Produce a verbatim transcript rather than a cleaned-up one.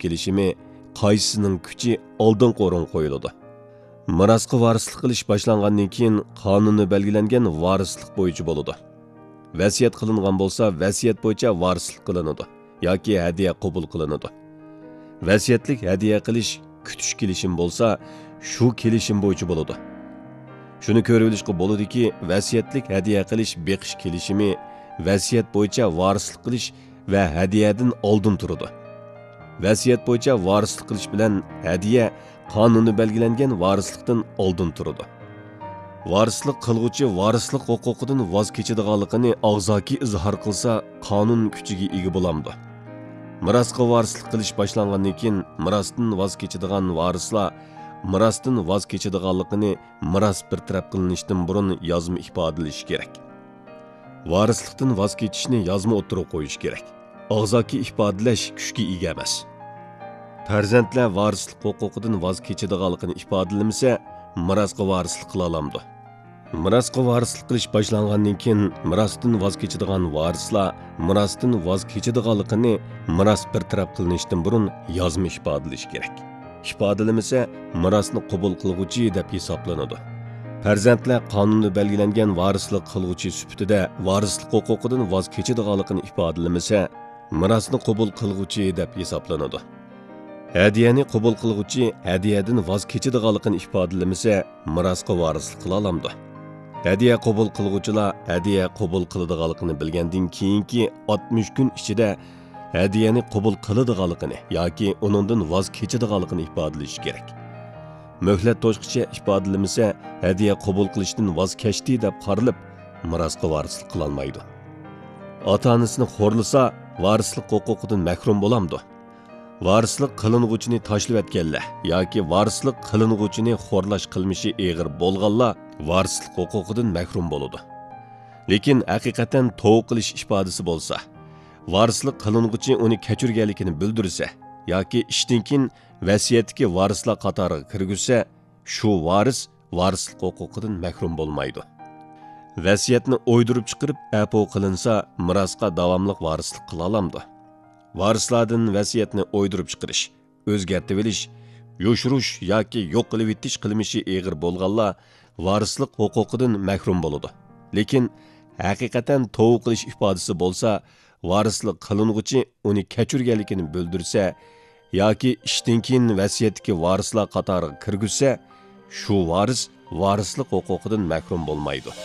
كېلىشىمى، قايسىسىنىڭ كۈچى ئالدىنقى ئورۇنغا قويۇلىدۇ؟ مىراسقا ۋارىسلىق قىلىش باشلانغاندىن كېيىن قانۇندا بەلگىلەنگەن ۋارىسلىق بويىچە بولىدۇ. ۋەسىيەت قىلىنغان بولسا، ۋەسىيەت بويىچە ۋارىسلىق قىلىنىدۇ ياكى ھەدىيە قوبۇل قىلىنىدۇ. ۋەسىيەتلىك ھەدىيە قىلىش كۈتۈش كېلىشىم بولسا، شۇ كېلىشىم بويىچە بولىدۇ. شۇنى كۆرۈۋېلىشقا بولىدۇكى، ۋەسىيەتلىك ھەدىيە قىلىش بېقىش كېلىشىمى ۋەسىيەت بويىچە ۋارىسلىق قىلىش ۋە ھەدىيەدىن ئالدىن تۇرىدۇ. ۋەسىيەت بويىچە ۋارىسلىق قىلىش بىلەن ھەدىيە قانۇندا بەلگىلەنگەن ۋارىسلىقتىن ئالدىن تۇرىدۇ. ۋارىسلىق قىلغۇچى ۋارىسلىق ھوقۇقىدىن ۋاز كېچىدىغانلىقىنى ئاغزاكى ئىزھار قىلسا، قانۇن كۈچىگە ئىگە بولامدۇ؟ مىراسقا ۋارىسلىق قىلىش باشلانغاندىن كېيىن، مىراستىن ۋاز كېچىدىغان ۋارىسلار مىراستىن ۋاز كېچىدىغانلىقىنى مىراس بىر تەرەپ قىلىنىشتىن بۇرۇن يازما ئىپادىلىشى كېرەك. ۋارىسلىقتىن ۋاز كېچىشنى يازما ئوتتۇرىغا قويۇش كېرەك. ئاغزاكى ئىپادىلەش كۈچكە ئىگە ئەمەس. پەرزەنتلەر ۋارىسلىق ھوقۇقىدىن ۋاز كېچىدىغانلىقىنى ئىپادىلىمىسە، مىراسقا ۋارىسلىق قىلالامدۇ؟ مىراسقا ۋارىسلىق قىلىش باشلانغاندىن كېيىن، مىراستىن ۋاز كېچىدىغان ۋارىسلار مىراستىن ۋاز كېچىدىغانلىقىنى مىراس بىر تەرەپ قىلىنىشتىن بۇرۇن يازما ئىپادىلىشى كېرەك. ئىپادىلىمىسە، مىراسنى قوبۇل قىلغۇچى دەپ ھېسابلىنىدۇ. پەرزەنتلەر قانۇندا بەلگىلەنگەن ۋارىسلىق قىلغۇچى سۈپىتىدە ۋارىسلىق ھوقۇقىدىن ۋاز كېچىدىغانلىقىنى ئىپادىلىمىسە، مىراسنى قوبۇل قىلغۇچى دەپ ھېسابلىنىدۇ. ھەدىيەنى قوبۇل قىلغۇچى ھەدىيەدىن ۋاز كېچىدىغانلىقىنى ئىپادىلىمىسە، مىراسقا ۋارىسلىق قىلالامدۇ؟ ھەدىيە قوبۇل قىلغۇچىلار ھەدىيە قوبۇل قىلىدىغانلىقىنى بىلگەندىن كېيىنكى ئاتمىش كۈن ئىچىدە ھەدىيەنى قوبۇل قىلىدىغانلىقىنى ياكى ئۇنىڭدىن ۋاز كېچىدىغانلىقىنى ئىپادىلىشى كېرەك. مۆھلەت توشقىچە ئىپادىلىمىسە، ھەدىيە قوبۇل قىلىشتىن ۋاز كەچتى دەپ قارىلىپ، مىراسقا ۋارىسلىق قىلالمايدۇ. ئاتا-ئانىسىنى خورلىسا، ۋارىسلىق ھوقۇقىدىن مەھرۇم بولامدۇ؟ ۋارىسلىق قىلىنغۇچىنى تاشلىۋەتكەنلەر ياكى ۋارىسلىق قىلىنغۇچىنى خورلاش قىلمىشى ئېغىر بولغانلار ۋارىسلىق ھوقۇقىدىن مەھرۇم بولىدۇ. لېكىن ھەقىقەتەن توۋا قىلىش ئىپادىسى بولسا، ۋارىسلىق قىلىنغۇچى ئۇنى كەچۈرگەنلىكىنى بىلدۈرسە ياكى ئىشتىن كېيىن ۋەسىيەتتىكى ۋارىسلار قاتارىغا كىرگۈزسە، شۇ ۋارىس ۋارىسلىق ھوقۇقىدىن مەھرۇم بولمايدۇ. ۋەسىيەتنى ئويدۇرۇپ چىقىرىپ ئەپۇ قىلىنسا، مىراسقا داۋاملىق ۋارىسلىق قىلالامدۇ؟ ۋارىسلاردىن ۋەسىيەتنى ئويدۇرۇپ چىقىرىش، ئۆزگەرتىۋېلىش، يوشۇرۇش ياكى يوق قىلىۋېتىش قىلمىشى ئېغىر بولغانلار ۋارىسلىق ھوقۇقىدىن مەھرۇم بولىدۇ. لېكىن ھەقىقەتەن توۋا قىلىش ئىپادىسى بولسا، ۋارىسلىق قىلىنغۇچى ئۇنى كەچۈرگەنلىكىنى بىلدۈرسە ياكى ئىشتىن كېيىن ۋەسىيەتتىكى ۋارىسلار قاتارىغا كىرگۈزسە، شۇ ۋارىس ۋارىسلىق ھوقۇقىدىن مەھرۇم بولمايدۇ.